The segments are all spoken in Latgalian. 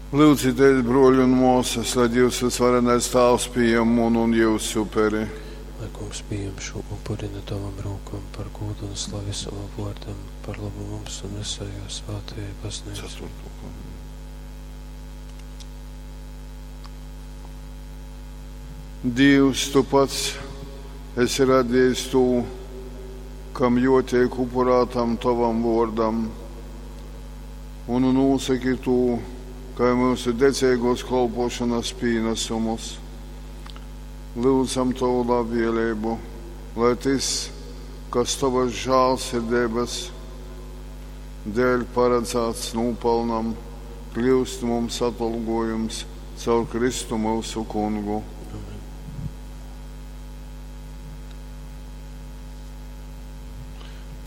Lyudzitēs, bruoļi un muosys, lai Dīvs vysvarenais Tāvs pījam munu un jiusu uperi. Lai Kungs pījam šū upuri nu tovom rūkom par gūdu un slavi sovam vuordam, par lobu mums un visai juo svātajai Bazneicai. Dīvs, tu pats esi radiejs tū, kam juoteik upurātam tovam vuordam, un nūsaki tū kai myusu dedzeiguos kolpuošonys pīnasumus. Lyudzam tovu labvieleibu, lai tys, kas tovys žālsirdeibys dēļ paradzāts nūpalnam, kliust mums atolguojums caur Kristu myusu Kungu. Amen.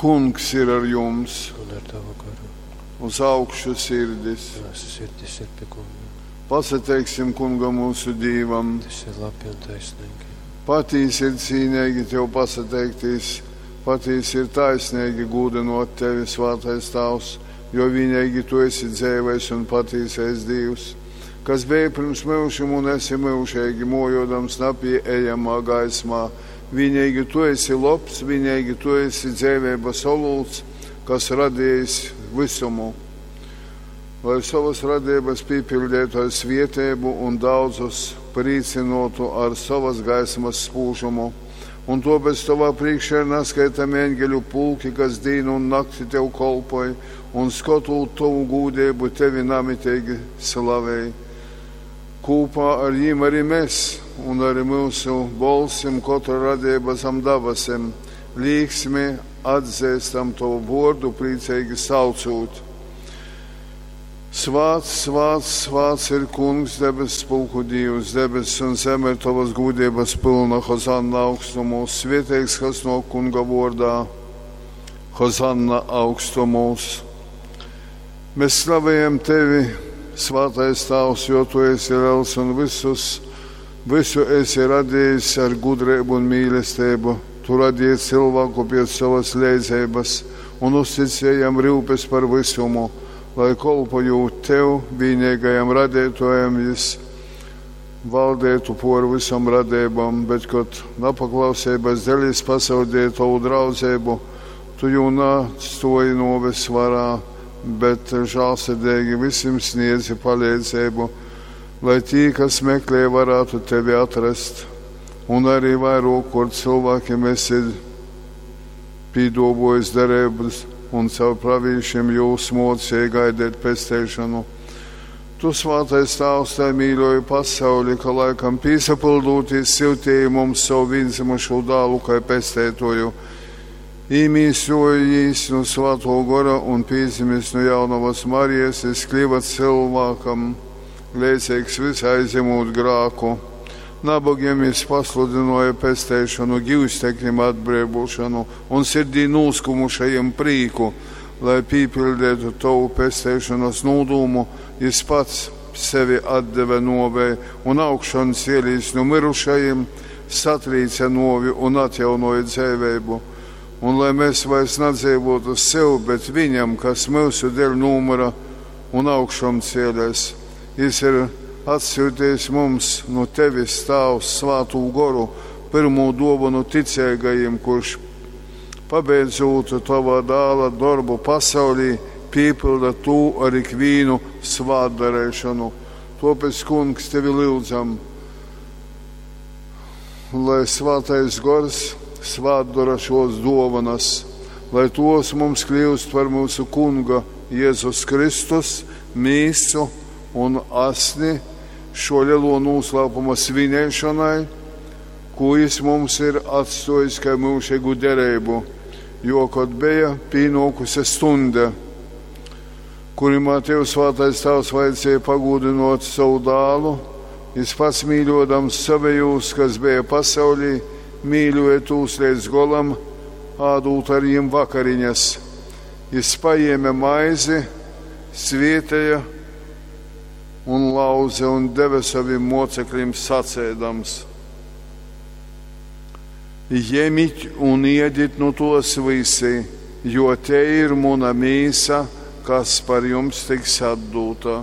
Kungs ir ar jums, Un ar tavu garu. Uz augšu sirdis. Myusu sirdis ir pie Kunga. Pasateiksim Kungam mūsu Dīvam. Tas ir labi un taisnīgi. Patīsi ir cīnīgi tev pasateiktīs, patīsi ir taisnīgi gūdinot tevi, svātais Tāvs, jo vienīgi tu esi dzeivais un patīsais Dīvs, kas bija pirms myužim un esi myužīgi, mojodams napieejamā gaismā. Vienīgi tu esi lobs, vienīgi tu esi dzeiveibas olūts, kas radījis visumu. Lai savas radības pīpildītu ar svietēbu un daudzus prīcinotu ar savas gaismas spūžumu. Un tāpēc tavā priekšā ir naskaitami eņģeļu pulki, kas dīnu un nakti tev kolpoj, un skotot tavu gūdību tevi namitīgi slavēj. Kūpā ar jiem arī mēs, un arī mūsu bolsim katra radība zem dabasim, līksmi atzīstam tavu vordu, priecīgi saucot. Svāts, svāts, svāts ir Kungs, debesu pulku Dievs, debesis un zeme ir tavas gūdības pilna, Hozanna augstumos, svētīgs, kas no Kunga vordā, Hozanna augstumos. Mēs slavējam tevi, svātais Tāvs, jo tu esi liels un visus, visu esi radījis ar gudrību un mīlestību. Tu radīji cilvēku pēc savas leidzības un uzticēji jam rūpes par visumu, lai kolpojot tev, vienīgajam radītājam, jis valdētu por visam radībām, bet, kad nepaklausības dēļ jis pazaudēja tavu draudzību, tu jū neatstāji nuoves varā, bet žālsirdīgi visiem sniedzi palīdzību, lai tī, kas meklē, varētu tevi atrast. Un arī vairāk, kur cilvēkiem esi pīdobojis derības un caur pravīšiem jūs mocīja gaidīt pesteišanu. Tu, svātais Tāvs, tai mīļoji pasauli, ka laikam pīsapildūties siltīji mums savu vienzimušo dālu kā pestētoju. Īmīsojīs no svāto gora un pīzimis no jaunavas Marijas, es kļuva cilvēkam, līdzīgs visai aizņemot grāku. Nabagiem jis pasludināja pesteišanu, givstekļiem atbrīvošanu un sirdī nūskumušajiem prīku, lai pīpildētu tavu pesteišanas nūdūmu, jis pats sevi atdeve novei un augšan cielīs no mirušajiem, satrīca novi un atjaunoja dzēvēbu. Un lai mēs vairs nedzīvotu sev, bet viņam, kas mūsu dēļ numura un augšām cielēs, jis ir atsūtījis mums no tevis, Tāvs, svātū goru, pirmo dāvanu ticīgajiem, kurš pabeidzot tavā dāla darbu pasaulī, piepilda tu ar ikvīnu svātdarēšanu. Tāpēc, Kungs, tevi lūdzam, lai svātais gors svātdara šos dovanas, lai tos mums kļūst par mūsu Kunga Jēzus Kristus mīsu un asni šo lielo noslēpuma svinēšanai, ko jis mums ir atstājis kā mūžīgu derību, jo, kad bija pienākusi stunda, kurimā Tev svātais Tēvs vajadzēja pagūdinot savu dālu, jis pats mīļodams savējos, kas bija pasaulī, mīļoja tūs līdz golam, ādūt ar jiem vakariņas. Jis paēma maizi, svietēja un lauze un deva saviem mocekļiem sacēdams: Ņemiet un iediet no tos visi, jo te ir muna mīsa, kas par jums tiks atdota.